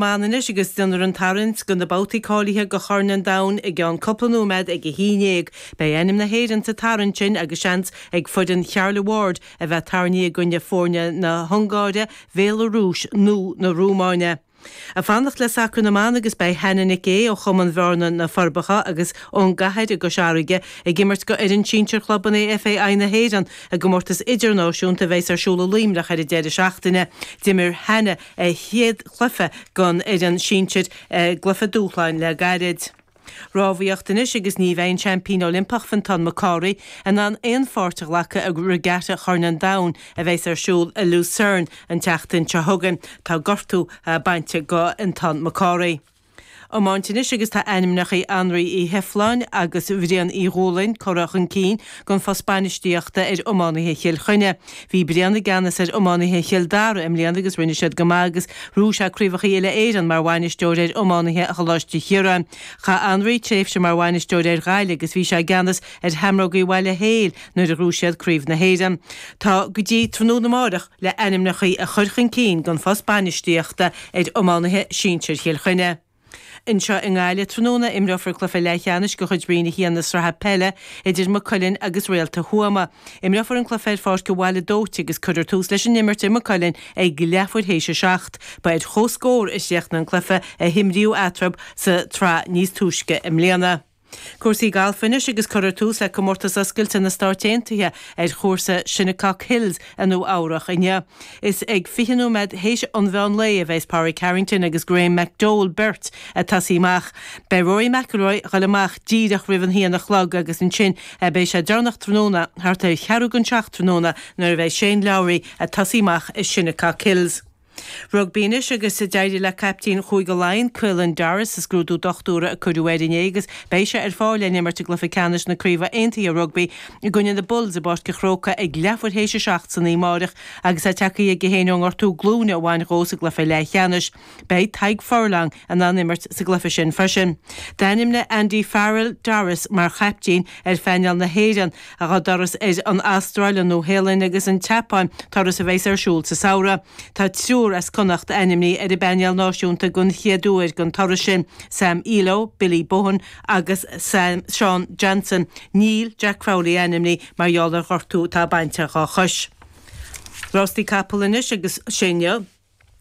Mban anois agus déanfar an tarraingt do na babhtaí cáilithe do Chorn an Domhain i gceann cúpla nóiméad ag 11. Beidh ainm na hÉireann sa tarraingt sin agus seans ag foireann Charlie Ward a bheith tarraingthe i gcoinne foirne na hUngáire, Bhéalarúis nó na Rómáine. Ag fanacht le sacar na mban agus beidh Hannah Nic Aodha ó Chumann Bhearna, Na Forbacha agus ón gCathair i gCois Fharraige ag imirt do fhoireann sinsir Chlub an AFAI na hÉireann i gcomórtas idirnáisiúnta a bheas ar siúl i Luimneach ar an deireadh seachtaine. D'imir Hannah a chéad chluiche don fhoireann sinsir i gcluiche dúshláin le gairid. Rámhaíocht anois agus ní bheidh an seaimpín Oilimpeach Fintán McCorry in ann aon pháirt a ghlacadh i Regatta Chorn an Domhain a bheas ar siúl i Lucerne an tseachtain seo chugainn. Tá gortú bainte do Fhiontán McCorry. Iomáint anois agus tá ainmneacha Anraí Uí Sheifleáin agus Bhriain Uí Dhúlaing curtha chun cinn don phost bainistíochta ar iománaithe Chill Chainnigh. Bhí Brian i gceannas ar iománaithe Chill Dara i mbliana agus rinne siad go maith agus ghnóthaigh sé craobhacha uile-Éireann mar bhainisteoir ar iománaithe Choláiste Chiaráin. Chaith Anraí tréimhse mar bhainisteoir ar Ghaillimh agus bhí sé i gceannas ar Sheamrógaí Bhaile Héil nuair a ghnóthaigh siad Craobh na hÉireann. Tá go dtí tráthnóna amárach le ainmneacha a chur chun cinn don phost bainistíochta ar iománaithe sinsir Chill Chainnigh. Anseo i nGaillimh tráthnóna, imreofar cluiche leathcheannais de chuid Roinn 1 na Sraithe Peile idir Maigh Cuilinn agus Réalta Thuama. Imreofar an cluiche ar Pháirc an Bhaile Dóite agus cuirfear tús leis an imirt i Maigh Cuilinn ag leathuair théis a 7. Ba ar comhscór a chríochnaigh an cluiche a himríodh eatarthu sa tsraith níos túisce i mbliana. Cúrsaí gailf anois agus cuirfear tús le Comórtas Oscailte na Stáit Aontaithe ar chúrsa Shinnecock Hills i Nua Eabhrach inniu. Is ag 20 nóiméad théis an mheán lae a bheas Pádraig Harrington agus Graeme McDowell beirt ag tosaí amach. Beidh Rory McIlroy ag dul amach díreach roimh an haon a chlog agus ansin beidh sé deireanach tráthnóna, thart ar cheathrú don seacht tráthnóna, nuair a bheidh Shane Lowry ag tosaí amach i Shinnecock Hills. Rugbaí anois agus d'éirigh le caiptín Chúige Laighean, Caelan Doris, sa scrúdú dochtúra a cuireadh air inné agus beidh sé ar fáil le n-imirt i gcluiche ceannais na Craoibhe Aontaithe Rugbaí i gcoinne na Bulls i bPáirc an Chrócaigh ag leathuair théis a 7 san oíche amárach agus é tagtha aige féin ón ngortú glúine a bhain dhó sa gcluiche leathcheannais. Beidh Tadhg Furlong in ann imirt sa gcluiche sin freisin. D'ainmnigh Andy Farrell Doris mar chaiptín ar phainéal na hÉireann dá dturas ar an Astráil, an Nua-Shéalainn agus an tSeapáin, turas a bheas ar siúl sa samhradh. Tá triúr as Connacht ainmnithe ar an bpainéal náisiúnta den chéad uair don turas sin, Sam Illo, Billy Bohan agus Shaun Johnson. Níl Jack Crowley ainmnithe mar gheall ar ghortú atá bainte dhá chois. Rástaí capall anois agus sé inniu.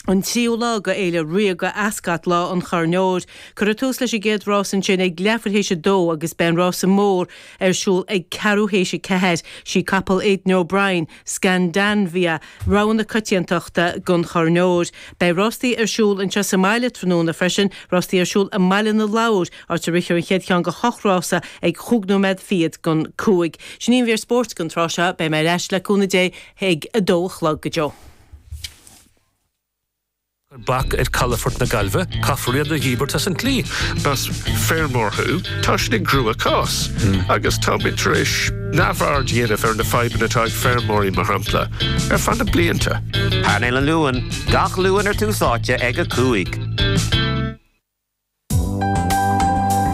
An tríú lá de Fhéile Ríoga Ascot, Lá an Choirn Óir. Cuirfear tús leis an gcéad rás ansin ag leathuair théis a dó agus beidh an rása mór ar siúl ag ceathrú théis a ceathair. Sí capall Aidan O'Brien, Scandanvia, rogha na coitiantachta don Chorn Óir. Beidh rástaí ar siúl anseo sa mbaile tráthnóna freisin, rástaí ar siúl i mBaile na Lobhar, áit a rithfear an chéad cheann de hocht rása ag chúig nóiméad fichead don cúig. Sin í an mhír spóirt don tráth seo. Beidh mé ar ais le cúnamh Dé ag a dó a chlog. Go deo. Bac ar calafort na Gaillimhe, caithfear iad a dhíbirt as an tslí. Más feirmeoir thú, tá siad i gcrua-chás agus táimid tar éis neamhaird a dhéanamh ar na fadhbanna atá ag feirmeoirí, mar shampla, ar feadh na blianta. Painéal an Luain, gach Luan ar Tús Áite ag 5.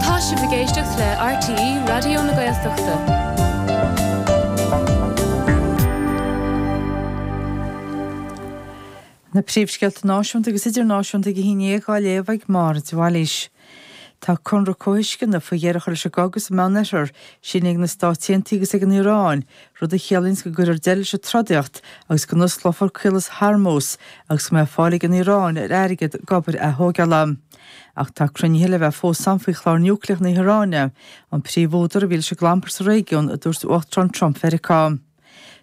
Tá sibh ag éisteacht le RTÉ Raidió na Gaeltachta. Na príomhscéalta náisiúnta agus idirnáisiúnta ag a haon dhéag á léamh ag Máire de Bhailís. Tá conradh comhthuisceana faoi dheireadh a chur leis an gcogadh sa Meánoirthear, sínithe ag na Stáit Aontaithe agus ag an Iaráin, rud a chiallaíonns go gcuirfear deireadh leis an trodaíocht agus go n-osclófar Caolas Hormuz agus go mbeidh fáil ag an Iaráin ar airgead d'obair athógála. Ach tá cruinnithe le bheith fós ann faoi chlár núicléach na hIaráine, an príomhúdar a bhí leis an gclampar sa réigiún, a dúirt Uachtarán Trump Mheiriceá.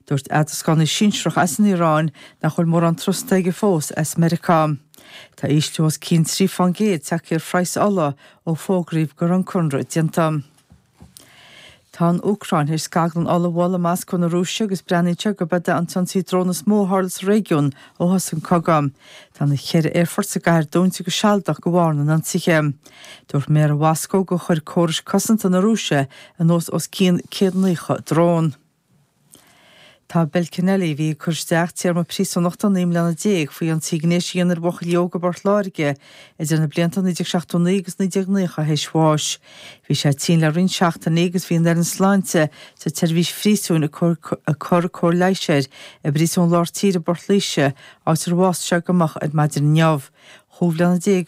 Dúirt eadroscánaí sinsearach as an Iaráin nach bhfuil mórán trusta aige fós as Meiriceá. Tá ísliú os cionn 3 fán gcéad tagtha ar phraghas ola ó fógraíodh go raibh an conradh déanta. Tá an Úcráin théis scaglann ola a bhualadh i Moscó na Rúise agus breathnaíonn sé gurb é an t-ionsaí drón is mó a tharla sa réigiún ó thosaigh an cogadh. Tá na cheithre aerfort sa gcathair dúnta go sealadach de bharr na n-ionsaithe. Dúirt méara Mhoscó gur chuir córais cosanta na Rúise anuas os cionn 190 drón. Tá Bill Kennelly, a bhí ag cur isteach téarma príosúnachta 19 mbliana faoi ionsaí gnéis a dhéanamh ar bhuachaillí óga i bPort Láirge idir na blianta 1979 agus 1990 théis bháis. Bhí sé tinn le roinnt seachtainí agus bhí an fhoireann sláinte sa tseirbhís phríosúin ag cur cóir leighis air i bPríosún Lár Tíre i bPort Laoise, áit ar bhásaigh sé go moch ar maidin inniu. Chúig bhliana déag.